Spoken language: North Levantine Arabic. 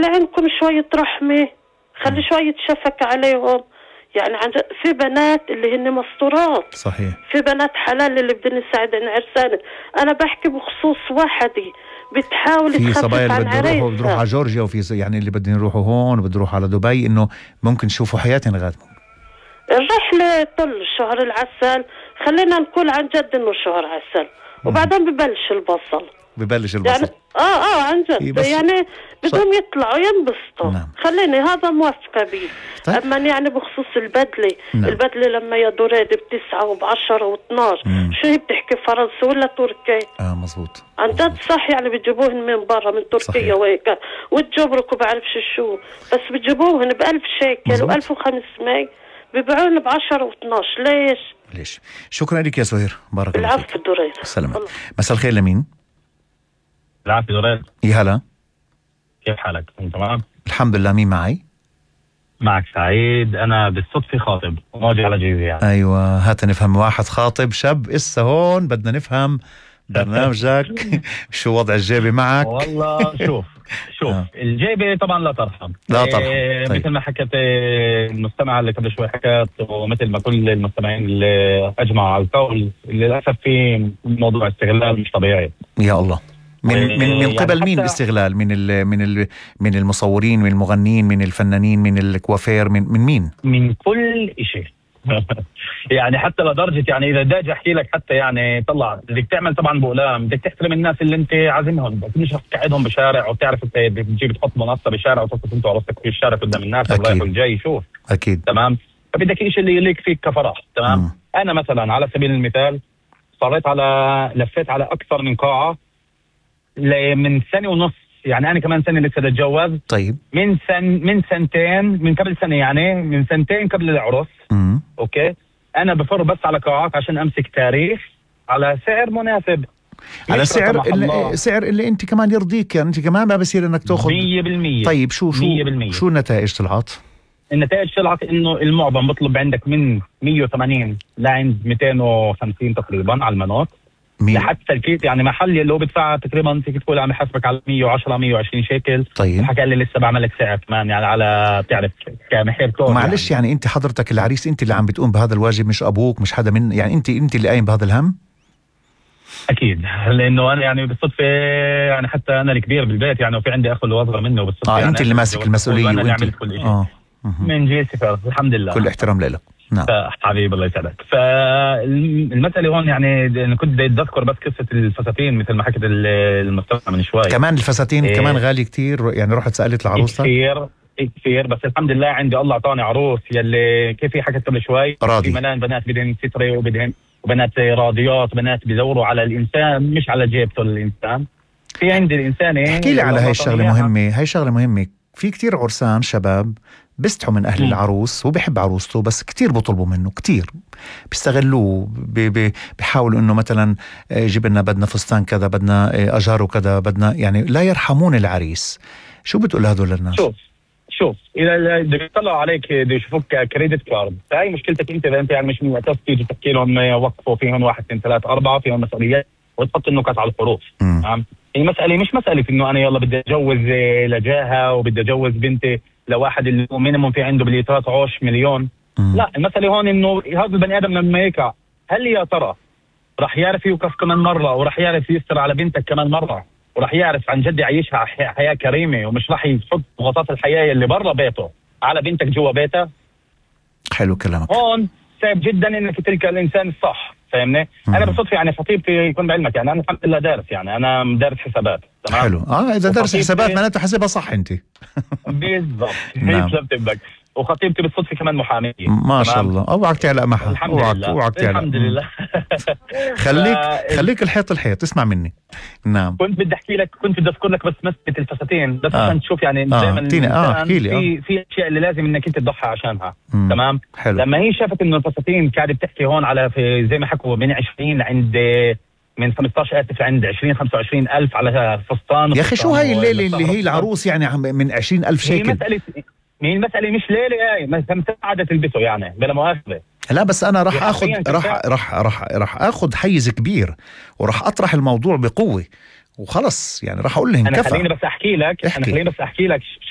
خلي عندكم شوية رحمة، خلي شوية شفقة عليهم. يعني في بنات اللي هن مستورات، صحيح، في بنات حلال اللي بدهم يساعدن عرسانة. أنا بحكي بخصوص واحدة بتحاول في صبايا تخفف اللي عن بده يروحوا عريسها. على جورجيا، وفي يعني اللي بدهم يروحوا هون وبده يروحوا على دبي، إنه ممكن يشوفوا حياتهم غاد. الرحلة طل شهر العسل، خلينا نقول عن جد إنه شهر عسل، وبعدين ببلش البصل. يعني عن جد يعني بدهم يطلعوا ينبسطوا. نعم. خليني هذا موافقة بيه. طيب. أما يعني بخصوص البدلة، نعم. البدلة لما يا دوريد ب9 وب10 و12، شو هي بتحكي فرنسي ولا تركي؟ مزبوط عن جد صح. يعني بتجيبوهن من برا من تركيا وهيك وتجبرك وبعرفش شو، بس بتجيبوهن ب1000 شيكل و1500 بيبيعون ب10 و12. ليش؟ شكرا لك يا سهير، بارك الله فيك. العفو دوريد. سلام. مساء الخير. لمين؟ العافية دوريد. يا هلا، كيف حالك؟ انت تمام؟ الحمد لله. مين معي؟ معك سعيد. انا بالصدفة خاطب وماجي على جيزي يعني. ايوه، هات نفهم. واحد خاطب شاب اسا هون، بدنا نفهم برنامجك. شو وضع الجيبة معك؟ والله شوف الجيبة طبعا لا ترحم. طيب. مثل ما حكت المستمع اللي قبل شوي حكت، ومثل ما كل المستمعين اللي اجمعوا على القول، للاسف في موضوع استغلال مش طبيعي. يا الله. من قبل يعني مين الاستغلال؟ من المصورين، من المغنين، من الفنانين، من الكوافير، من مين؟ من كل شيء. يعني حتى لدرجة يعني إذا داج أحكي لك حتى يعني طلع بدك تعمل طبعا بقلام، بدك تحترم الناس اللي أنت عازمهم، بس مش تقعدهم بشارع وتعرف أنت بتجيب تحط منصة بشارع وتصف أنت ورصك في الشارع قدام الناس الرايح والجاي. شوف أكيد تمام. فبدك إيش اللي يليق فيك كفرح. تمام. أنا مثلا على سبيل المثال لفيت على أكثر من قاعة من سنة ونص. يعني أنا كمان سنة لسه أتجوز. طيب. من سنتين، من قبل سنة، يعني من سنتين قبل العرس. أوكي. أنا بفر بس على قاعات عشان أمسك تاريخ على سعر مناسب، على سعر اللي أنت كمان يرضيك. يعني أنت كمان ما بصير إنك تأخذ 100%. طيب شو النتائج طلعت؟ النتائج طلعت إنه المعظم بطلب عندك من 180 لعند 250 تقريبا على المناط. لحتى الكيت يعني محل اللي هو بدفع تقريبا فيك تقول عم يحاسبك على 110 120 شيكل. طيب. حكى لي لسه بعمل لك سعر كمان يعني على بتعرف كمحير كور. معلش يعني انت حضرتك العريس، انت اللي عم بتقوم بهذا الواجب، مش ابوك، مش حدا من يعني انت اللي قايم بهذا الهم. اكيد، لانه انا يعني بالصدفه يعني حتى انا الكبير بالبيت يعني، وفي عندي اخ اللي اصغر منه بالصدفه. يعني انت اللي ماسك المسؤوليه وانا اللي عملت كل شيء. من جيسي الحمد لله. كل احترام لك. نعم حبيبي الله يسعدك. فالمسألة هون يعني أنا كنت بدي أذكر بس قصة الفساتين مثل ما حكت المستمع من شوي. كمان الفساتين كمان غالي كتير. يعني رحت سألت العروسة كثير، بس الحمد لله عندي الله أعطاني عروس يلي كيف هي حكت قبل شوي راضي. في ملان بنات بدهن ستري وبنات راضيات، بنات بيدوروا على الإنسان مش على جيبته الإنسان. في عندي الإنسان احكي لي على هاي الشغلة مهمة. هاي شغلة مهمة. في كتير عرسان شباب بيستحوا من أهل العروس، وبيحب عروسته بس كتير بطلبوا منه، كتير بيستغلوه، بيحاولوا إنه مثلا جيب لنا، بدنا فستان كذا، بدنا أجار وكذا، بدنا يعني لا يرحمون العريس. شو بتقول هذول للناس؟ شوف إذا يطلعوا عليك يشوفوك كريدت كارد، فهي مشكلتك أنت. إذا أنت يعني مش من وقتها تيجي تحكي لهم وقفوا فيهم 1 2 3 4 فيهم مسؤوليات وتحط النكت على الحروف. المسألة مش مسألة إنه أنا يلا بدي أتجوز لجاهة وبدي أتجوز بنتي لواحد اللي هو مينيموم في عنده بالإيطالات عوش مليون. لا، المسألة هون إنه هذا البني آدم لما يقع، هل يا ترى رح يعرف يوقف كمان مرة، ورح يعرف يستر على بنتك كمان مرة، ورح يعرف عن جد يعيشها حياة كريمة، ومش رح يحط ضغوطات الحياة اللي برا بيته على بنتك جوا بيته؟ حلو كلامك. هون صعب جدا إنك تلقى الإنسان الصح. فاهمني؟ أنا بالصدفة يعني خطيبتي يكون بعلمك يعني أنا الحمد لله دارس، يعني أنا دارس حسابات. تمام. حلو. إذا دارس حسابات معناته حسبها صح أنت. بالضبط. نعم. وخطيبتي بالصدفة كمان محامية. ما شاء الله. اوعك تعلق معها. اوعك تعلق. الحمد لله. خليك الحيط اسمع مني. نعم. كنت بدي احكي لك، كنت بدي اذكر لك بس مسألة الفساتين بس عشان تشوف يعني دائما في اشياء اللي لازم انك انت تضحي عشانها. تمام. حلو. لما هي شافت انه الفساتين قاعده بتحكي هون على في زي ما حكوا من 20 عند من 15 عند 20-25 ألف على فستان. يا أخي شو هاي الليلة اللي هي العروس يعني من 20,000 شيكل؟ هي المسألة مش ليلة، هاي مساعدة تلبسه يعني بلا مؤاخذة. لا بس أنا راح أخذ راح أخذ حيز كبير، وراح أطرح الموضوع بقوة وخلص. يعني راح أقول لهم خليني بس أحكي لك